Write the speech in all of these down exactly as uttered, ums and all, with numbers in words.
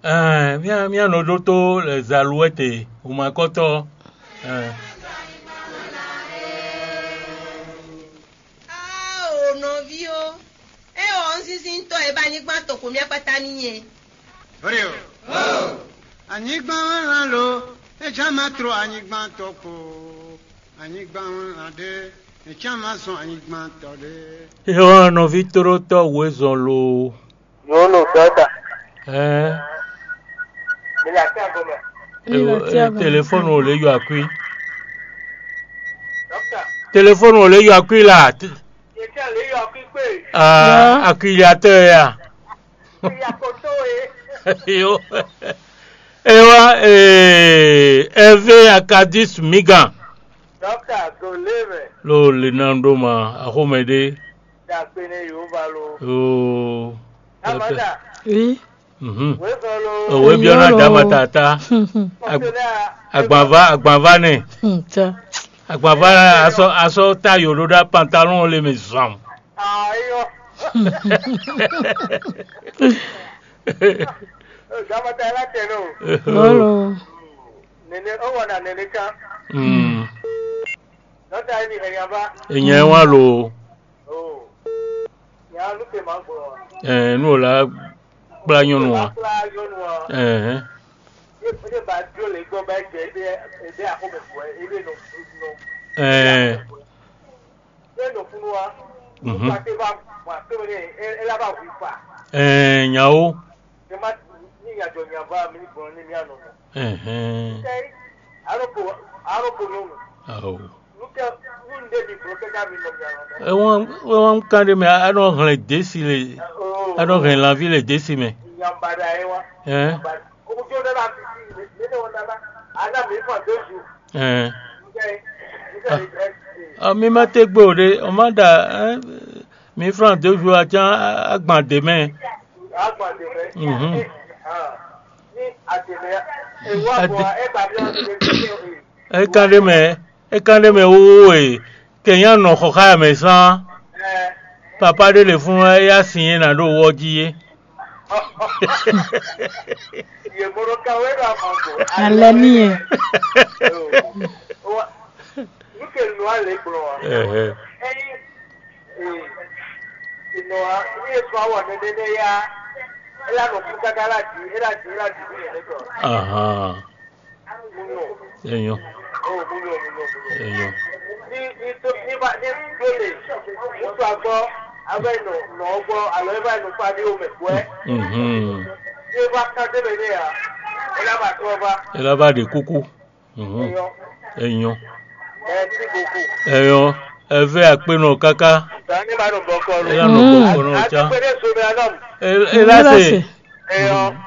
Ɛɛ, mía mía nɔ ɖótó Zaluwɛ́te, wǔmakɔ́tɔ́. Ɛɛ. Ao nɔví ó, é ɔ́, un zínzín tɔ́ e bá anyigba tɔn ko mì akpata n'i é. Vré o. Anyigba wɛ lan lo, é já ma tló anyigba tɔn kpo. Anyigba wɛ lan ɖé, é já ma zɔn anyigba tɔn ɖé. É ɔ́, nɔví tlótɔ́ wǔ e zɔn lo. Nyɔ̌nu dɔ̌ta. Ɛɛ. Mi le atín agɔmɛ. Ewo, e, telefɔni ò lè yɔ akwí. Dɔ̌ta. Telefɔni ò lè yɔ akwí la. Yě tẹ́ lè yɔ akwí kpé. Aa, akwiliatɔ ya. Ìyá kò tó e. Yo. Ewa, ee, Hervé Akadis Migan. Dɔ̌ta, gòlé mɛ. Lo le na ɖó ma, axɔmɛ ɖé. Dàgbé ne Yehowa lo. Yoo. Amanda. Oui. Mhm. Wezɔlo. Òwe biɔ na dama tata. Kɔsɛlɛ a. Agbanva, agbanva nɛ. Hmm, tiens. Agbanva asɔ asɔ ta yo ɖo ɖa pantalon le mi zɔn. Ayɔ. Dama ta la tɛ no. Bolo. Nene o wana nene kan. Hmm. Dɔta yi ni hɛnya ba. Enyɛ wa lo. Oh. Nya nu ke ma gbɔ. Ɛɛ, nu o la kpla nyɔnu wa. Kpla nyɔnu wa. Ɛɛ. Ye ye ba dio le gbɔ ba jɛ ebe ebe akome fo ebe no no. Ɛɛ. Ye no funu wa. Mhm. Ba te ba ba te ne e e la ba wi fa. Ɛɛ, nyawo. Ke ma ni nya jɔ nya ba mi gbɔ ni mi anɔ. Ɛhɛn. Ke aro ko aro ko nyɔnu. Awo. Nukɛ nunde mi gbɔ kɛkɛ mi nɔ mi anɔ. Ewɔn ewɔn kan ɖe mɛ anɔ hlɛn desi le. Anɔ hlɛn lanvi le desi mɛ. Nyamba da ye wa. Ɛn. Ojo da la mi ne ne won da la. Ana mi fa deux jours. Ɛn. Nukɛ nukɛ. Ah, mi ma te gbe o ɖe, o ma ɖa, ɛn, mi flan deux jours a can agban ɖe mɛ. Agban ɖe mɛ. Mhm. Ah. Ni a ɖe mɛ. E wa bɔ e ba mi. E kan ɖe mɛ, e kan ɖe mɛ wowo e kɛnya nɔ xɔ xá mɛ sán. Papa ɖé le fún wá, éyá sin e nǎ ɖo wɔ jí é. Alɛ ní e. Nú ke nɔ alɛ gblɔ wa. Ɛhɛ. Eyi nɔ wa ní e sɔ awɔ nɛnɛ nɛ ya. Ela nɔ kú kaka la di, ela di, ela di ní yɛn tɔ. Ahan. Enyo. Enyo. Ela ba ɖe kuku. Mhm. Enyo. Enyo. Eve akpenɔ kaka. Ela nɔ bɔ kɔnɔ ca. Ela se.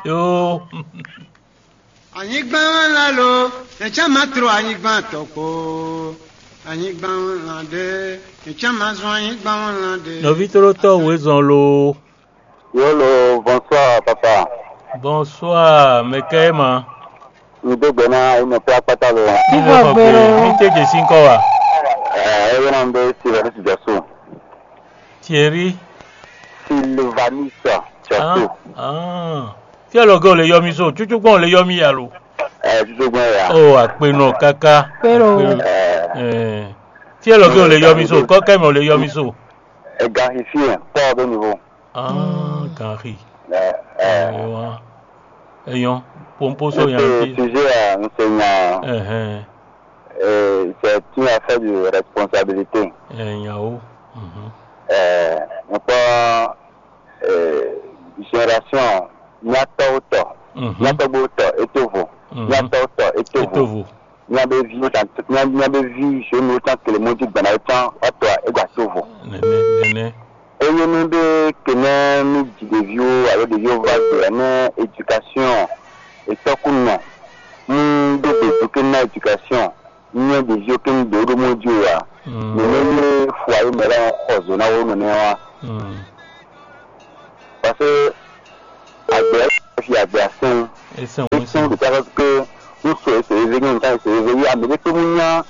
Yo. Anyigba wɛ la lo, nɛ̌ cán ma tló anyigba tɔn kpo? Anyigba wɛ la ɖe, nɛ̌ cán ma zɔn anyigba wɛ la ɖe? Nɔví tlólótɔ́ wězɔn lo. Yolo, bonsoir papa. Bonsoir, mɛ kɛ é ma. Mi dó gbɛ ná inú pé akpátá lo. Ilé kɔkɔe, mi tɛ jɛ sín kɔ wa. Ɛ ɛ yẹn náà ń bẹ Silvanus Jasu. Thierry. Silvanus Jasu. Ah, ah. Fí alɔ gɛ ò lè yɔ mi so, tsútsú gbɔn ò lè yɔ mi yà lo. Ɛ tsútsú gbɔn yà. O àkpenɔ káká. Péro. Ɛ. Fí alɔ gɛ ò lè yɔ mi so, kɔkɛ mɛ ò lè yɔ mi so. Ega xixi ɛ kpɔ bɛ nuvo. Ah, gan xi. Ɛ ɛ. Eyɔn pompo so yan ti. Sujet à enseignant. Ɛhɛn. Euh, c'est une affaire de responsabilité. Ɛhɛn, yawo. Mhm. Euh, on peut euh, génération nyatɔwo tɔ, nyatɔgbo tɔ etovo, nyatɔwo tɔ etovo. Etovo. Míabe viwo ta míabe vi jeune wo tán kele mɔ jí gbana wo tán wa tɔ e gba so vo. Nene nene. Eye mi be kene mi dzi ɖeviwo alo ɖeviwo va gbe ne éducation etɔkunɔ mu ɖo gbe do ke na éducation nyɛ ɖeviwo ke mi ɖo ɖo mɔ jí o wa. Nene ye fo ayi mɛ la xɔ zo na wo nɔ ne wa. Parce que agbe fi agbe asɛn. Esɛn wo esɛn. Ɖeka ke ŋutsu ese eve nyɔnu ta ese eve yi ame ɖe kpe mu nya.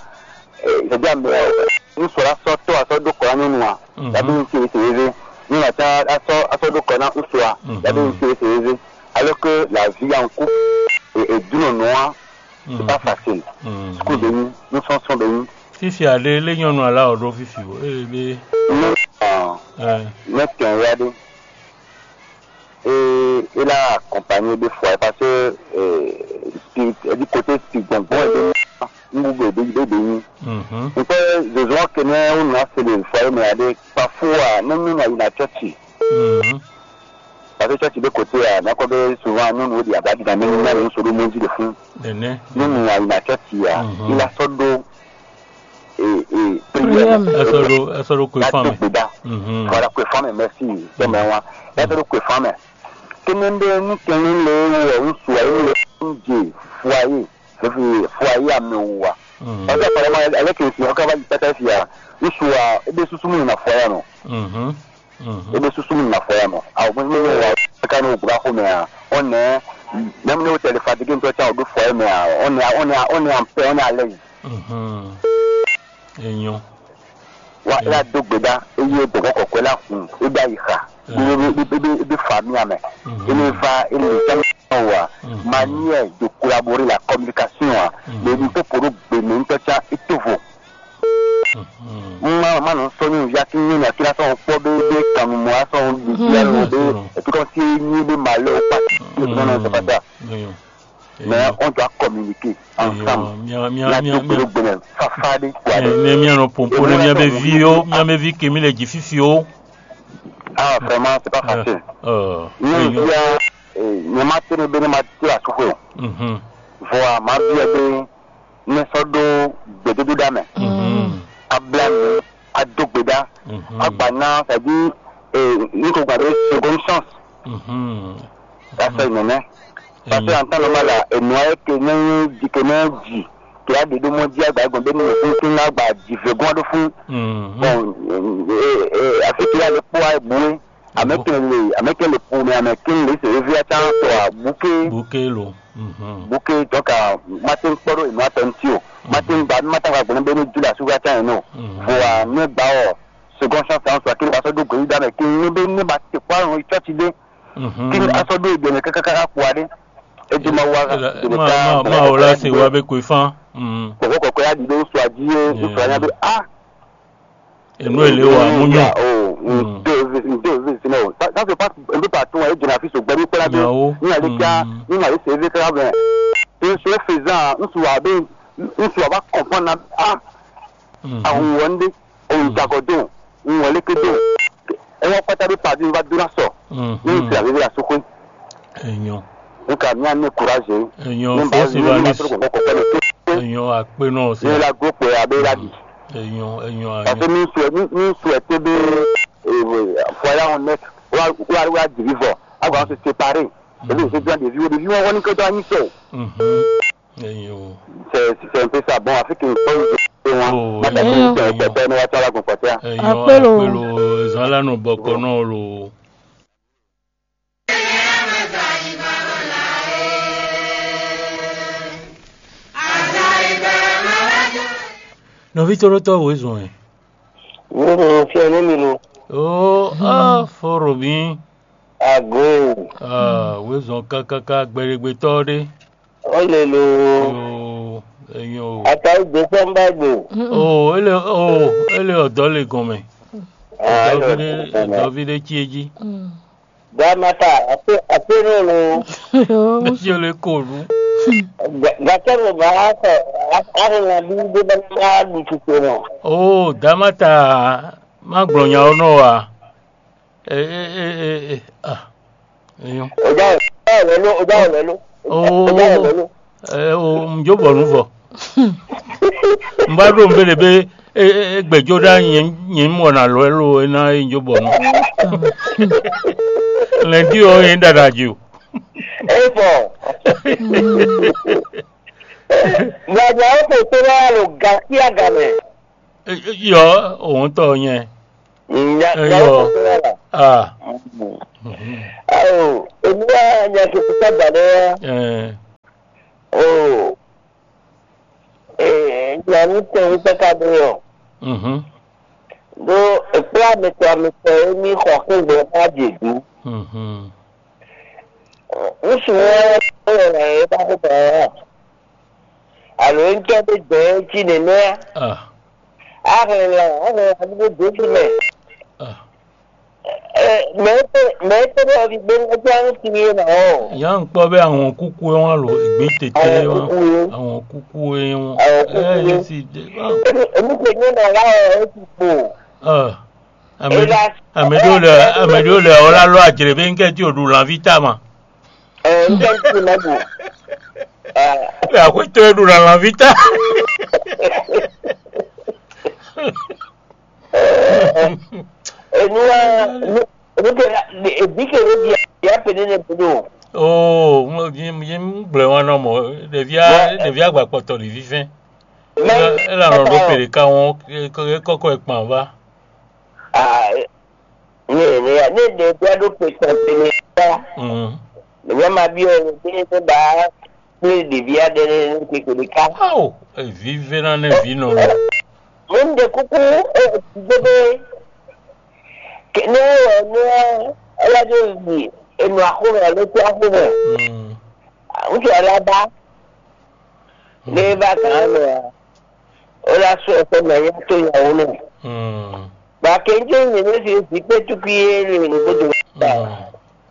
Ɛdi ame ŋutsu la sɔ tɔ asɔ ɖo kɔ na nyɔnu a. Yabe ŋutsu ese eve nyɔnu ata asɔ asɔ ɖo kɔ na ŋutsu a. Yabe ŋutsu ese eve. Alors que la vie en couple et, et du non noir, c'est pas facile. School de nuit, nous sommes sur de nuit. Fifi aɖe lé nyɔnu ala ɔɖo fifi o. Ee be. Nous, euh, Ɛ. Mɛ tɛn ya ɖe. Et il a accompagné des fois parce que euh, spirit, du côté spirit, bon, bon, nous, nous, nous, nous, nous, Mhm. Nkwɛ zozo ɔ́ kɛnɛ wú nɔ se le fɔ yé mɛ ade parfois ne nu na yi na chɔchi Mhm. Parce que chɔchi de kote a na kɔ be souvent nu nu di aba di na ne nu na nu so do mɔnzi de fun Nene. Ne nu na yi na chɔchi a Mhm. Il a sɔ do e e Prière. Prière. Ɛ sɔ ɖo ɛ sɔ ɖo kwe la fan to mɛ. Gbe da Mhm. Voilà kwe fan mɛ merci tɛmɛ wa la sɔ do kwe fan mɛ kene de nu kene le wɔ ŋsu ayi le ŋje foyer foyer amɛ wa Mhm. Parce que apparemment, avec le Seigneur, quand on va dire ça, il y a une fois, et des sous-sous, on a foyer, non? Mhm. Mhm. Et des sous-sous, on a foyer, non? Alors, moi, je me dis, ouais, quand on a un gros mais, hein, on est, même nous, on est fatigué, on peut faire deux fois, mais, hein, on est, on est, on est en paix, on est à l'aise. Mhm. Enyo. Wa e la do gbe ɖa eye bɔbɔ kɔkɔɛ la hun e ɖo ayi xa e ɖo e ɖo e ɖo e ɖo fami amɛ e ne va e ne ɖo tɔn wa manière de collaborer la communication a le nu popo ɖo gbe mɛ ŋutɔ tsa e to vo ma ma nɔ sɔ nyɔnuvi ati nyɔnu ati la sɔn kpɔ be be kanu mɔ asɔn ɖiɖi alo be etu kɔn si nyi be ma lɛ o pa ti o nɔ nɔ sɔ pata. Mais on doit communiquer ensemble. Mia mia mia mia gbɛnɛ fafa de quoi. Ne mia nɔ pompo ne mia be vi yo mia be vi kemi le dzi fifi o. Ah vraiment c'est pas facile. Ni bia ne ma tene be ne ma ti la suxwe. Vɔ a ma bia be ne sɔ do gbedodo da mɛ. A bla mi a do gbe da. A gba na c'est à dire ni ko gba be seconde chance. Ça c'est nene. Parce que en temps normal la, et moi que non dit que non dit que a des deux mois dit à gba gombe nous font tout là gba dit vegon de fou. Bon, afin qu'il a le poids et boué. Américain le américain le pour mais américain le c'est vieux à temps toi bouquet. Bouquet lo. Bouquet donc à matin kpɔɖo et moi tantio. Matin ba matin ka gombe nous dit la sous à temps non. Voilà ne ba seconde chance en soit qu'il va se dougouiller dans les king ne ne ba te quoi on est fatigué. Kí ni aṣọ dó ìgbẹ̀mí kákáká kó adé. Ẹ jẹ́ máa wá ma ma ma o la se wa be kwe fan. Kɔ̀kọ́ kɔ̀kọ́ yá dìde ń sọ àjí yé ń sọ àyà bí a. Enu ele wa mu nyɔ. Ǹdó ìwé sínú o. Sáfì pa ẹbí pa tún ẹ jìnnà fi ṣùgbọ́n ní pẹ́lá bí Nyawo. Ní àlejò ní màá ṣe é fẹ́ fẹ́ bẹ́ẹ̀. Ń sọ fèzà ń sọ àbí ń sọ àbá kọ̀ọ̀kan náà a. Àwọn wọ̀ndé. Ohun jagɔdo, ohun wɛlɛkɛdo, ewɔ kpata ɖo padi va do na sɔ. Ní ìsirà bíbí asúkú. Enyo. Nka mi ane kuraje. Enyo. Ní ba fɔsi ní ba ba ní tó kɔkɔ kɔkɔ ní tó. Enyo akpe nɔ si. Ní la gbo kpɛ abe la di. Enyo enyo Parce que anyo. Ní sue ní ní sue te be foyer en net wa wa wa divi vɔ. Awa se séparer. Ebi se jɔn ɖeviwo ɖeviwo wɔni kɔjɔ anyi sɔ. Mhm. Enyo. C'est c'est un peu ça. Bon, Afrique une bonne. Oh, Madame enyo. Enyo. Enyo. Enyo. Akpelo. Akpelo. Zala no bɔkɔ nɔ lo. Nɔvi tɔɖotɔ wo zɔn ɛ. Wo fiɛ ne mi lo. Oh, ah, foro bi. Ago. Ah, wo zɔn kakaka gbɛɖegbetɔ ɖe. Ó lè lo. Yo, enyo. Ata ìgbésẹ̀ ń bá gbò. Oh, ele oh, ele ọ̀dọ́ le gɔn mɛ. Ah, ele Ọ̀dọ́vi ɖe ọ̀dọ́ le gɔn mɛ. Ọ̀dọ́vi ɖe tí é jí. Dàmátà àpé àpé náà lo. Ɖe tí ó lè kó lu. Gàtẹ́ ló bá a sọ àrùn àbí gbé bá a lù tìtò náà. Oh, Dàmátà má gbɔn nya ɔ́ nɔ wa. Ee ee ee ee ah. Eyɔn. Ọjọ́ ọ̀lẹ́ ló, ọjọ́ ọ̀lẹ́ ló. Ooo. Ọjọ́ ọ̀lẹ́ ló. Ẹ o ǹjọ́ bọ̀ nù fọ. N bá ɖo nbéle bé e e e gbɛjɔ ɖá nyɛ nyɛ mɔ nà lɔ ɛ lo e ná e ǹjọ́ bọ̀ nù. Lɛndí ɔ yẹn dada jù. E fɔ. Gbàgbà ó kò tó wá lò gàkí àgàmẹ̀. Yɔ òun tɔ nyɛ. Nya Eyɔ. Nya ko la. Ah. Awo, emi wa nya ke kusa ba ɖe wa. Eh. O. Eh, nya ni tɛ ŋutɔ ka ɖe yɔ. Mhm. Ɖo ekpla ametɔ ametɔ emi xɔ kún gbɔ ká dze du. Mhm. Ŋutsu ɔ́ é wɛ è ba xó mɛ ɔ́ a? Alo é ŋutɔ́ ɖé gbɛ̌ cí nɛnɛ́ á? Ah, A hɛn lan, a hɛn lan ɖó dǒ jí mɛ. Ah. Mɛ e tɛ́ mɛ e tɛ́ ɖɔ ɔ́ ví gbé ŋgɔ́ ɔ́ nú sin é nɔ ɔ́. Nya ŋkpɔ́ bɛ ahɔn kúkú é wán lo, ègbé tete é wán, Ahɔn kúkú é. Ahɔn kúkú é wán. Ahɔn kúkú é. Ɛ, é sì dé. Èmi kò nyɛ nɔ wá ɔ, é ti kpo. Ah. Ame Ela- ame ɖewo le ame ɖewo le ɔlá lɔ adzre be ŋkɛ ti o ɖu lanvi ta ma. Ɛ, ŋkɛ ti ma ɖu. Ɛ, Le akwetɔ e ɖu la lanvi ta. Enu wa nu nu ke la ebi ke ɖo bia bia pe ne ne bo ɖo. Oo, mo yi yi gblɛ wan nɔ mɔ ɖevia ɖevia gba kpɔtɔ li vivɛn. Mɛ Ela nɔ ɖo pele ka wɔn kɔkɔ ekpan va. Ah, ne ne ne ɖe bia ɖo pe kpɔtɔ ne ta. Mm. Ne ma bi o ne ne ba kple ɖevi aɖe ɖe kpekpe ɖeka. Ao, evive na ne vi nɔ. Mo un ɖe kuku, ɛ, dzogbé. Ke ne wɔ ne ela ɖo yi enu axome alo to axome. Mm. Ŋutsu ala ba ne va gán mɛ a, ela sɔ ɛsɛ mɛ ya to yawo nɛ. Mm. Ba ke ŋjɛ nyɛ ne si si kpe tukui ye le ne godo. Mm.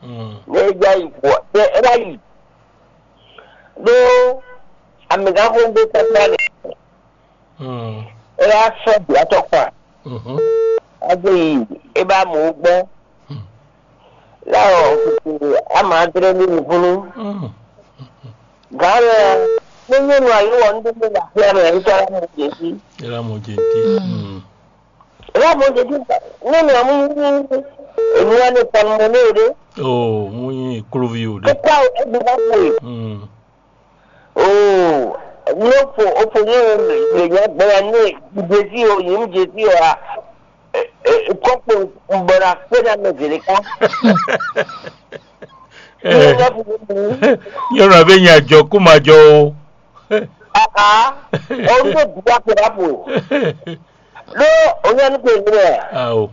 Mm. Ne ja yi gbɔ ne ela yi. Ɖó amɛgãxogbó kpakpla ɖe. Mm. É wá sɔ́ vǐ atɔ́ kpa. Mhm. Ado yi é bá mɔ gbɔ. Mm. Lá ɔ kùkù ama adrɛ ní nukúnnú. Mm. Gǎn lɛ ní nyɔnu ayé wɔ ní ɖé ɖa xyá mɛ ní tɔ́ lá mɔ jɛ sí. Ela mo jenti. Mm. Mm. Lá mɔ jɛ sí. Ní mi ɔmú ní èmi wá ní pɔnmɔ ní o ɖé. Oh, mo yin kúlúví o ɖé. Kókó àwọn ẹgbẹ́ bá pò é. Mm. Oo, ní o fo o fo ní o lè nya gbɛya ní ìdésí o yìí ń jésí o a kɔkpo bɔra kpéda mɛ zèlé ká. Ní o fo ní o. Nyɔnu abe nya jɔ kó ma jɔ o. Aa, o ní o dùgbà kpéda po. Ló o ní ẹni pé ní ẹ. Awo.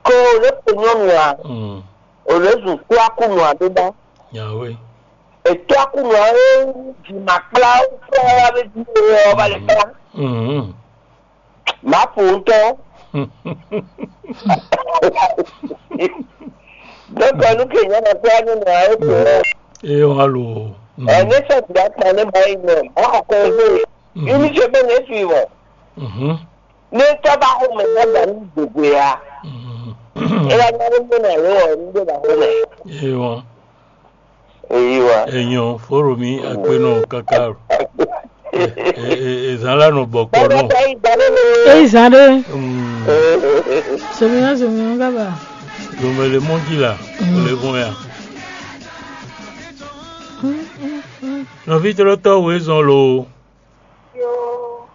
Kó o lè pè nyɔnu a, Mm. O lè zùn kó akúnú a bí bá. Nyawe. Ètò akúnú a é jì mà kplá ó fẹ́ wá bí bí ó ọba lè kplá. Mhm. Màá fò ń tọ́. Dɔkɔ nu ke nyɔnu kplá nínú a é pè ɔ. Eye wọn lo. Ɛ ní sọ ti akpa ní bá yín mɛ, a kọ ẹ fún mi. Mhm. Yín ní ṣe bẹ́ẹ̀ ní èsì wọ̀. Mhm. Ní tọ́ bá xó mɛ bá gbà ní gbogbo ya. Mhm. Ela nya ló mú nà ló ɔ ní dé bá xó mɛ. Eye wọn. Èyí wa. Èyàn fóró mi akpénɔ kaka. Èzán lánà bọ̀ pọ̀ náà. Èyí zan ɖe. Zomina zomina gaba. Zomele mɔdzi la. Lè fún ya. Nɔvi tlɔtɔ wo ezɔn lo. Yo.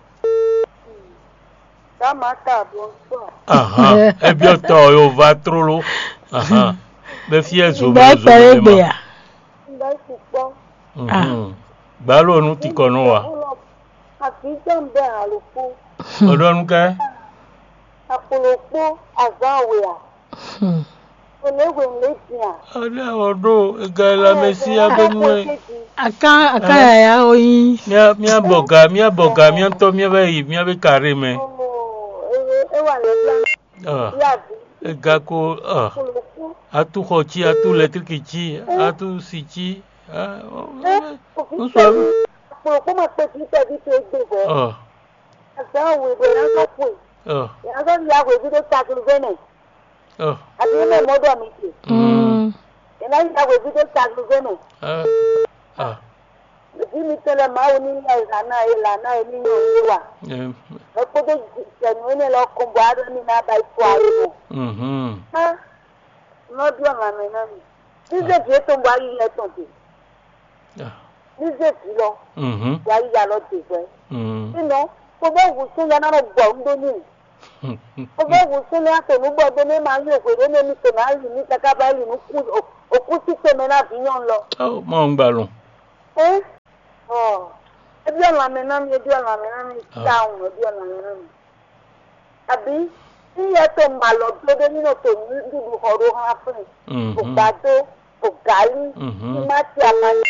Tamata, bonsoir. Ahan, ebyɔ tɔ yo va trolo. Ahan. Be fie zo Gbe be zo kpɛ be ɖe gbe ma. Ya. Ŋgbɛ sukpɔ. Mhm. Gbalo nu ti kɔ nɔ wa. Afi tɔn bɛ alo kpo. Ɔdɔ nu kɛ. Akpolo kpo azan we a. Hmm. Ole we le dia. Ɔdɔ ɔdɔ ega la mesi abenu e. Akan akan yaya oyin. Mia mia bɔga mia bɔga mia tɔ mia bɛ yi mia bɛ kare mɛ. Oh, e e wa le dia. Ah. Ya vi. Ega ko ah. Akpolo kpo. Atu xɔ ci, atu lɛtriki ci, atu si ci. Ah, oh, Eh, oh, oh, oh, Akpolo kpo ma kpe ti tɛ bi to egbe vɔ. Ah. Azan we bɔ yɛn azɔ kue. Ah. Yɛn azɔ ya hwevi ɖo taglizɛn mɛ. Ah. Abi mɛ mɔ ɖɔ mi te. Mm. Yɛn na ya hwevi ɖo taglizɛn mɛ. Ah. Ah. Ɖevi mitɔn lɛ Mawu ní lɛ lǎ ná e lǎ ná e ní nyɔ̌nu é wa. Eh. Mɛ kpódó jɛ̌nu énɛ́ lɔ kɔn bɔ á ɖɔ ní ná ba yi fɔ ayi mɔ. Mhm. Hã, nɔ ɖɔ lanmɛ ná mi. Ní zé vǐ étɔn bɔ ayi lɛ tɔn te. Ah. Ní zé vǐ lɔ Mhm. bɔ ayi ya lɔ te hwɛ. Mhm. Sínɔ, kò bɛ hu sún ya ná nɔ gbɔ nú ɖó nú. Kò bɛ hu sún ní ato nú bɔ ɖó ní ma yí hwe ɖó ní mi to ná yi ní káká bá yi nú kú òkú sí tɛnmɛ ná vǐ nyɔnu lɔ. Oh, mɔ ń gbà lọ. Ɛ? Ɔ, ebi ɔlàn mɛ ná mi, ebi ɔlàn mɛ ná mi, Ah. Tawun, ebi ɔlàn mɛ ná mi. Àbí, ní yɛ tó ma lɔ dó ɖé nínú tó nú dúdú xɔ ɖó hán fún mi. Mhm. Kò gbà tó, Gali, mhm, timati, amani,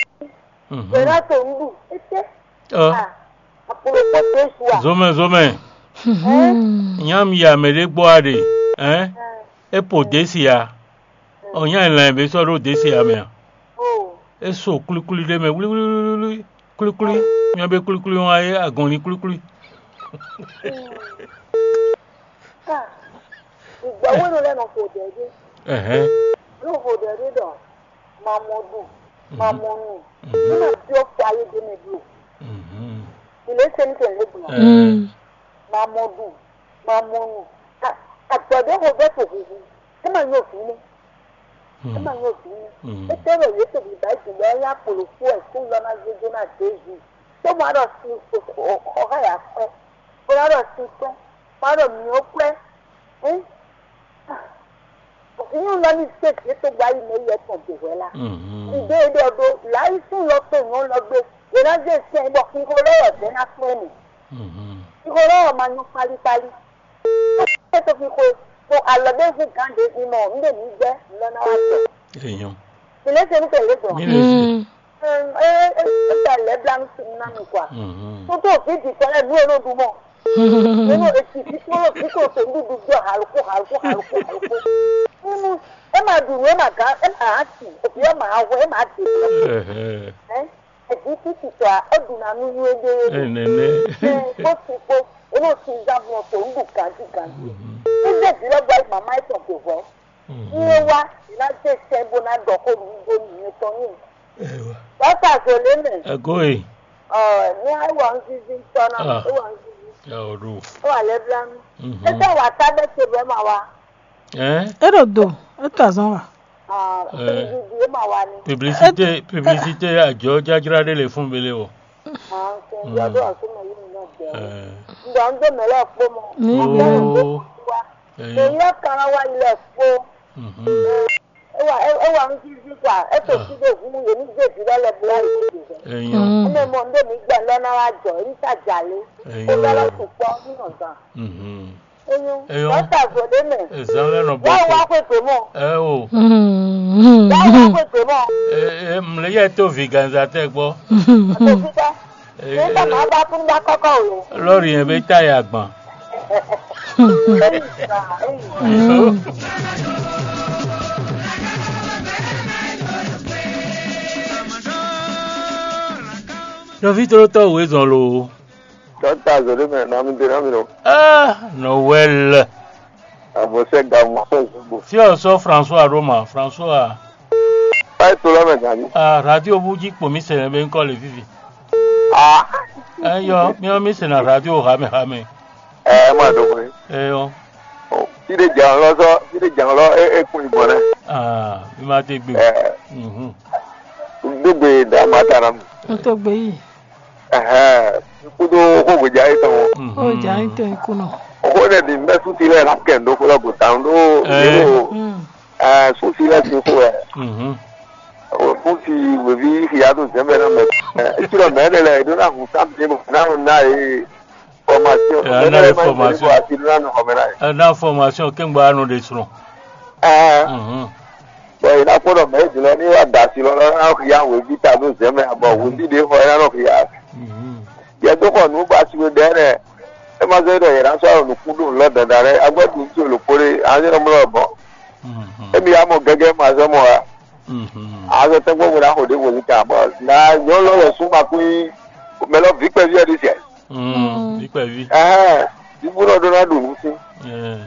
mhm, gbɛɖá to nuɖu, ete. Ɔ, a, apolo kpɔtɛ sua. Zomɛ, zomɛ. Ɛn, nyam ya mɛ ɖé gbɔ a ɖe. Ɛn, e po desi a. Ɔ, nya lan bɛ sɔ ɖo desi a mɛ a. O. E so kulikuli ɖe mɛ wlíwlíwlí, kulikuli, nya bɛ kulikuli wa ye agɔnli kulikuli. Ka, ìgbà wo ló lẹ́nu kò dẹ̀ dé? Ɛhɛn. Ló kò dẹ̀ dé dɔ, ma mɔ ɖu, ma mɔ nu. Mhm. Ní ma fi ɔ́ fi ayé dé mɛ ɖo. Mhm. Ìlé ṣe ní tẹ̀lé gbọ́n. Ɛɛ. Ma mɔ ɖu, ma mɔ nu. Agbɔ̌dé ko bɛ́ to huhu. É ma nyɔ vǐ nɛ́. É ma nyɔ vǐ nɛ́. Mm. É tɛ́ wɛ yě to bǐbá yi dǐndɔ́ yá kpolo kú wɛ kú lɔ ná zé dó ná Jezu. Tó mɔ ɖɔ sin xɔ xá yà kwɛ́. Bó ná ɖɔ sin kwɛ́. Má ɖɔ mǐ ó kwɛ́. Hɛn? Nyɔnu lɔ ní zé vǐ tɔn gbɔ ayi mɛ yi etɔn dǒ hwɛ la. Mhm. Ɖiɖe e ɖɔ ɖó lǎyísún lɔ kpé nyɔ̌nu lɔ gbé, è nǎ zé sɛn bɔ xixo lɔ wɛ vɛ̌ ná kplɔ́n mì. Mhm. Xixo lɔ wɛ ma nyɔ kpalíkpalí. É tɔ́ xixo, bɔ alɔ ɖé hu gǎn ɖě ví mɔ, un ɖe mǐ gbɛ́, un lɔ ná wá tɔ. Èèyàn. Mǐ lɛ́ se nú kɛlɛ gbɔn. Mí lè ṣe. Mm. Ɛ ɛ ɛ ɛ lɛblanu ná mi kwa. Mhm. Tó tó òfin ti kɔ lɛ nú eno ɖu mɔ. Eno eti ti tó lɔ fi kò tó ndu du gbɔ haluko haluko haluko haluko. Nínú ẹ máa dùn ẹ máa gán ẹ máa hàn sí òbí ẹ máa wọ ẹ máa dè. Ɛhɛ. Ɛ ɛdi títí tɔ a ó dùn nà nú yú ebe yé. Ɛnɛnɛ. Ɛ kó ti kó eno ti zá bọ̀ tó ndu gàdí gàdí. Mhm. Ní bẹ́ẹ̀ bí lọ́gbà màmá ẹ̀ tọ̀ gbè wẹ́. Mhm. Ní ẹ wá ìlà tẹ̀ sẹ́ bó ná dọ̀ kó lu gbó nìyẹn tán yìí. Ɛwa. Dɔkta Zoleme. Ɛgo e. Ɔ, ní ewɔ ŋzizi tɔ na, ah, ewɔ ŋzizi. Ya o ɖo. Ewɔ alɛ bla mi. Mhm. Ete wa ta bɛ te bɛ ma wa. Ɛn? E ɖo do, e to azɔn wa. Ah, eh, publicité, e ma wa ni. Publicité, publicité ajɔ jajra ɖe le fún bele o. Ah, ok. Mm. Ya do asu ma yi mi na jɛ. Eh. Ndo ndo mele kpo mo. Ni. Oh. Wa. Eh. Mo yɔ kan wa ilẹ̀ kpo. Mhm. Eh, Ewa ewa ŋzízí kwa, etɔ sí ɖo hu yě ní zé vǐ lɔ lɛ bla yi ɖe. Eyan. Mm. Ene mɔ ndé mi gbɛ lɔ ná wá jɔ, yí ká jalé. Eyan. Ó bɛ lɔ sukpɔ nínú zan. Mhm. Eyún. Eyún. Dɔkta Zodé mɛ. Ezan lɛ nɔ bɔ. Wá wá xwe tó mɔ. Ɛ o. Mm. Wá wá xwe tó mɔ. E e mlɛ yɛ tó vi ganza tɛ gbɔ. Àtò fífẹ́. Nígbà máa bá tún bá kọ́kọ́ o. Lórí yẹn bẹ tá yà gbọ̀n. Nɔví tlóló tɔ́ wǔ é zɔn lo. Dɔkta Zolé mɛ nɔ mi dé nɔ mi nɔ. Ah, Noël. Àbọ̀sẹ̀ gàmù sọ̀zùgbò. Fí ɔ sɔ François Roma, François. Báyìí tó lọ́mọ gàmí. Ah, radio bú jí kpò mí sɛnɛ bɛ ŋkɔ le fífi. Ah. Eyɔ, mí ɔ mí sɛnɛ radio hamɛ hamɛ. Ɛ ɛ má dɔgɔn yìí. Eyɔ. Fíɖe jǎn lɔ sɔ fíɖe jǎn lɔ é é kún ìbọn rɛ. Ah, mi ma te gbe. Ɛ Mhm. Dógbe dá má ta nà mí. N tó gbé yìí. Ɛhɛn, kúdó xógbèjà yìí tɔn. Mhm. Ó jà ń tẹ̀ ikú náà. Xó ɖe ɖi mbɛ súnsi lɛ la kɛ ndo kó lɔ gò tán ɖó Ɛ. Ndo Mm. Ɛ súnsi lɛ sin xó wɛ. Mhm. Súnsi wèví xìyá tó zɛn bɛ náà mɛ. Ɛ etí lɔ mɛ ɖe lɛ ɖó náà hùn sáà mi bò náà nù náà yìí. Formation. Ɛ, mɛ ana ɖe ma information. Yìí bò àti ɖó náà nù xɔmɛ náà yìí. Ɛ, na formation kɛngbɔ anu ɖe srɔn. Ɛ Mhm. Bɔn yìí náà kpɔdɔ mɛ yìí dilɔ ní wà dà sí lɔ lɔ náà xìyá wèví ta ɖó zɛn mɛ bɔ wèví ɖe xɔ yìí náà nɔ xìyá. Mhm. Yɛ tó xɔ nǔ ba si we ɖɛ nɛ. E ma zɔ ɖɔ yɛ ná sɔ nukún ɖo lɔ dandan rɛ agbɛ ɖu tso lòkpó ɖe anyi nɔ mlɔ bɔ. Mhm. Emi ya mɔ gɛgɛ ma zɔ mɔ wa. Mhm. Azɔ tɛgbɔ mo na xo ɖe mo nika bɔ na nyɔ lɔ lɔ sún ma kú yi mɛ lɔ vi kpɛvi ɔ ɖi sɛ. Mm, Mm. Ikpɛvi. Ɛhɛn, ibu nɔ ɖó ná ɖu nǔ sín. Ɛɛ.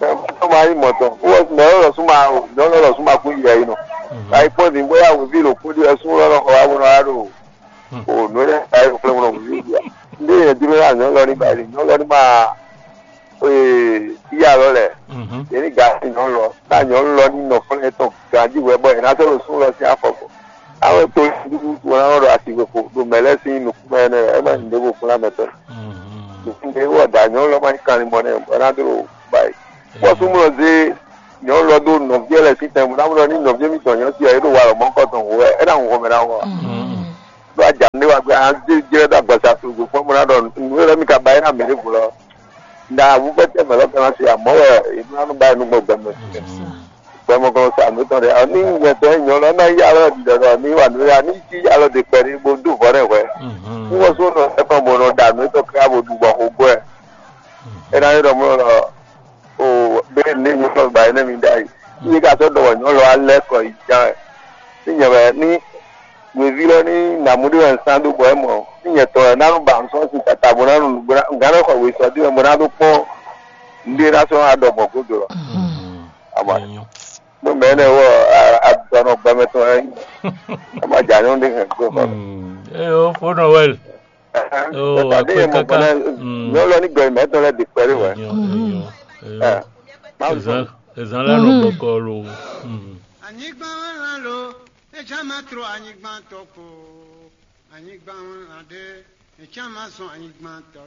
Mɛ ma yi mɔtɔ. Wɔ mɛ lɔ sún ma o, nyɔ lɔ sún ma kú yi ayi nɔ. Mhm. Ayi kpɔn din bóyá wòvi lò kú di ɛsún lɔ lɔ xɔ wa bó nɔ wa ɖo. Hmm. O nǔ lɛ ayi kplé mo nɔ wòvi bia. Ndé yɛ dúró yá nyɔ lɔ ní ba yi, nyɔ lɔ ní ma ee yá lɔ lɛ. Mhm. Yɛ ní ga nyɔ lɔ, ná nyɔ lɔ ní nɔ fúnɛ tɔn ganji wɛ bɔ yɛ ná sɔ́ lɔ sún lɔ sín afɔ kɔ. Awe to dúdú wọn náà ɖo asi weko ɖo mɛ lɛ́ɛ sín nukúnmɛ nɛ ɛ má nyí ɖěvo kplá mɛ tɔn. Mhm. Nukúnmɛ wɔ da nyɔnu lɔ má nyí kanlin mɔ nɛ bɔ ná dó ɖo ba yi. Bɔ súnmɔ zé nyɔnu lɔ dó nɔviɛ lɛ sín tɛn bó ná bó ní nɔviɛ mi tɔn nyɔ si ɛ ɖo wa lɔ mɔkɔ tɔn wò ɛ ɛ ná hun xɔmɛ ná wɔ. Mhm. Ɖó adza ne wa gbé an dé jɛ dó agbasa to gbé fún bó ná ɖɔ nu yɛ mi ka ba yi ná mɛ ɖé vo lɔ. Nda awu fɛ tɛ mɛ lɔ kɛ ná se amɔ wɛ e ná ba yi nu gbɔ gbɛmɛ. Mhm. Gbɛmɔgɔn sa nǔ tɔn ɖe. Ní nyɛtɔ́ nyɔ̌ lɔ ná yá lɔ ɖiɖɔ ɖɔ ní wa nǔ ya ní cí yá lɔ ɖe kpɛɖé bó dó vɔ̌ ɖɛ hwɛ̌. Ní wọ́n só nɔ ɛkɔn bó nɔ ɖa nǔ tɔn káyà bó ɖu bɔ xo gbɔ ɛ. É ná nyí ɖɔ mɔ lɔ o bɛ ní nyɔ̌ lɔ ba é nɛ mi ɖ'ayǐ. Ní ka sɔ́ ɖɔ wɔ nyɔ̌ lɔ alɛ kɔ yi ján ɛ. Ní nyɛ wɛ ní wěví lɔ ní nǎmú ɖé wɛ un sán dó bɔ é mɔ. Ní nyɛ tɔn wɛ ná nú ba un sɔ́ sin tata bó ná nú nǔgbó ná un gán nɔ xɔ wěsɔ́ dó wɛ bó ná ɖó kpɔ́n. Nɖé ná sɔ́ adɔ gbɔn gúdo lɔ. Ama Enyo. Mo mɛ ne wɔ adɔnɔ gbɛmɛ tɔn ɛ. Ama dza nyɔ ɖe hɛn gbɔ kɔ. Eyo, fo Noël. Oh, akwe kaka. Mm. Nyɔlɔ ní gbɛ mɛ tɔn lɛ di kpɛ ɖe wɛ. Enyo, enyo, enyo. Ɛ. Ma Ezan, ezan la nɔ gbɔkɔ lo. Mm. Anyigba lan lo, etsama tro anyigba tɔ ko. Anyigba lan ɖe, etsama sɔn anyigba tɔ.